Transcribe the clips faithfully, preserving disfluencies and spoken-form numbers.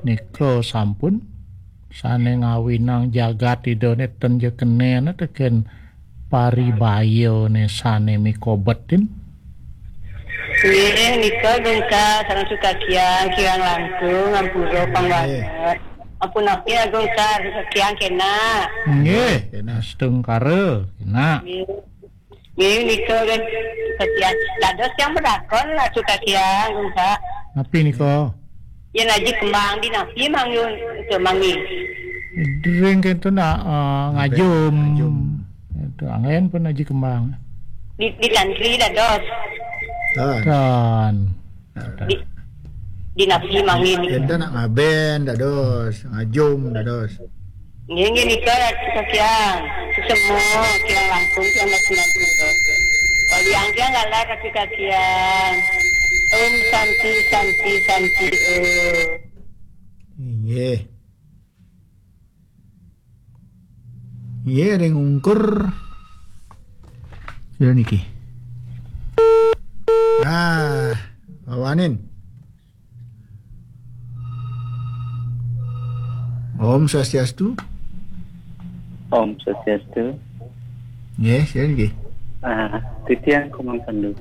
Nika sampun sane ngawinang jagat Idane ten ja kenena teken paribayane sane mikobetin. Nggih, nika Agung Ka, sareng Sukakiang, kirang langkung, ampura pangwanget. Ampun napi Agung Ka, Sukakiang kena. Nggih, kena. Astungkara, kena. Nggih. Nggih, nika kan Sukakiang. Dados yang berakon lah Sukakiang, Agung Ka. Napi nika? Yen aji kembang di napi mangun, itu mangi. Dering kento nak, eh, ngajum. Ngajum. Itu angin pun aji kembang. Di, di tantri dados. Tan. Tan. Di, di napi mangi. Enten nak ngaben dados, ngajum dados. Nggih, nggih, nika Ratu Kakiang. Sesemo, kiang langkung, kiang nak sembilan puluh. Kaliang kiang galah Ratu Kakiang. Om Santi, Santi, Santi, Om. Nggih. Nggih, ring ungkur. Sudah niki. Ah, wawanin. Om Swastiastu. Om Swastiastu. Nggih, sira nggih. Ah, titiang Komang Pandu.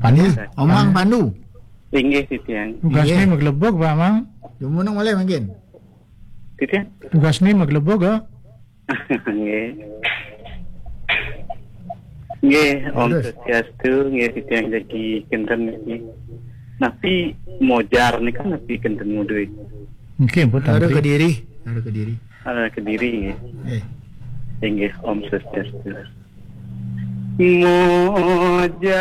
Pandu, Omang Pandu. Inggih, titiang. Tugasnya maglebug, Pak Mang. Dumunung malih mangkin. Titiang. Tugasnya maglebug, ya. Nggih. Nggih, Om Swastiastu, nggih titiang jagi kinten niki. Napi mojar nika napi kinten muduy? Nggih, pun Ada tantri. Kediri, ada Kediri. Ada Kediri nggih. Nggih. Inggih, Om Swastiastu. Mojar.